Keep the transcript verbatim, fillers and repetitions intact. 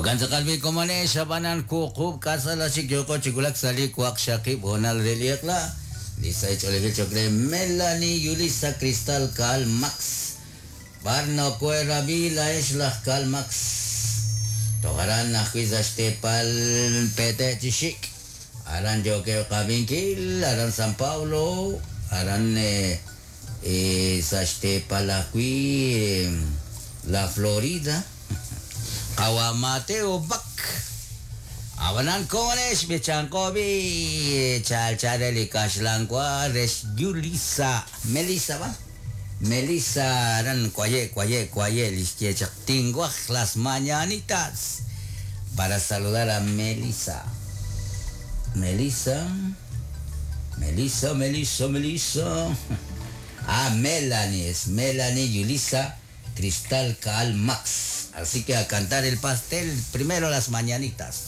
Jo'kan tz'aqal bi komonex ab'anan wuqub' k'asal chik yooko chi wulak sa' li waqxaqib' hoonal re li eq'la. Li sahil ch'oolejil choq' re Melanie Yulisa Cristal Kaal Max. B'ar nokoherab'i laa'ex laj Kaal Max. Toj aran ajwi' sa' xteepal Pete' chi xik'. Aran yookeb' qab'inkil, aran San Pablo, aran eh, eh, sa' xteepal ajwi' eh, La Florida. Qawa Mateo Bac. Ab'anan komonex b'ichanqo bi chal chal re li kaxlan wa rex Yulisa Melissa ba Melissa aran kwaye kwaye kwaye lixye chaq tinwaj las mañanitas para saludar a Melissa. Melissa Melissa Melissa Melissa. Ah, Melanie, es Melanie Yulisa Cristal Kaal Max. Así que a cantar el pastel, primero las mañanitas.